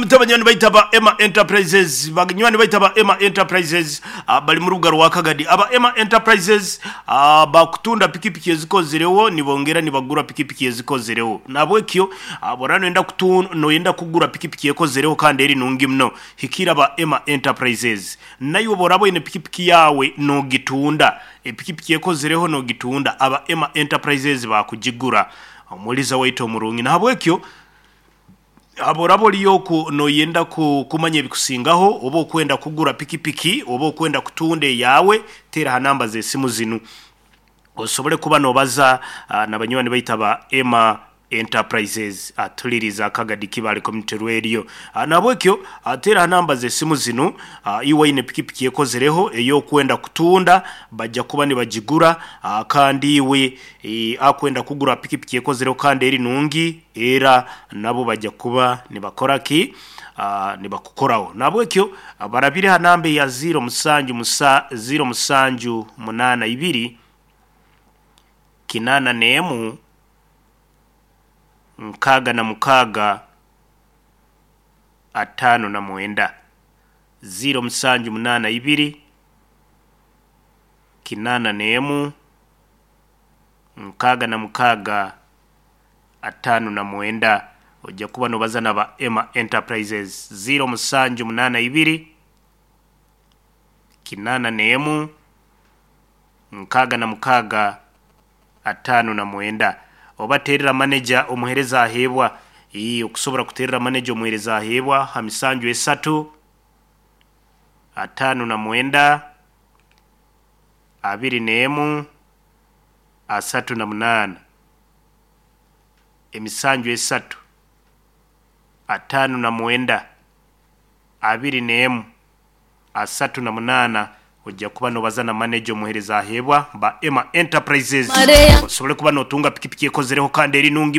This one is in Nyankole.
Muti abanywani baitu aba Emma Enterprises, banywani baitu aba Emma Enterprises bari mu rubuga rwa Kagadi. Aba Emma Enterprises bakutunda pikipiki ezikozireho nibongera nibagura pikipiki ezikozireho. Nahabwekyo bworaba noyenda noyenda kugura pikipiki ekozireho kandi eri nungi muno, hikiira aba Emma Enterprises. Naiwe bworaba oine pikipiki yaawe nogitunda, epikipiki ekozireho nogitunda, aba Emma Enterprises bakugigura. Omuhuriza waitu omurungi. Nahabwekyo. Oraba ori oku noyenda kumanya ebikusingaho oba okwenda kugura pikipiki oba okwenda kutunda eyaawe, teera aha namba z'esimu zinu osobole kuba nobaza na banywani baitu aba Emma Enterprises. Tuliriza Kagadi Kibaale Community Radio. Nahabwekyo teera aha namba z'esimu zinu iwe oine pikipiki ekozireho ey'okwenda kutunda baija kuba nibagigura kandi iwe akwenda kugura pikipiki ekozireho kandi eri nungi Era nabo baija kuba nibakora ki? Nibakukoraho. Nahabwekyo barabire ha namba eya ziiro musanju musa ziiro musanju munaana ibiri kinaana n'emu 66 59. Ziiro musanju munaana ibiri kinaana n'emu 66 59. Oija kuba nobaza na ba Emma Enterprises. Ziiro musanju munaana ibiri, kinaana n'emu, 66, 59. Oba teerera maneja omuheereza aheebwa. Ii, Okusobora kuteerera maneja omuheereza aheebwa ha misanju esatu, 59, 21, 38. Emisanju esatu, 59, 21, 38, Oija kuba nobaza na maneja omuhereza aheebwa ba Emma Enterprises osobole kuba notunga pikipiki ekozereho kandi eri nungi.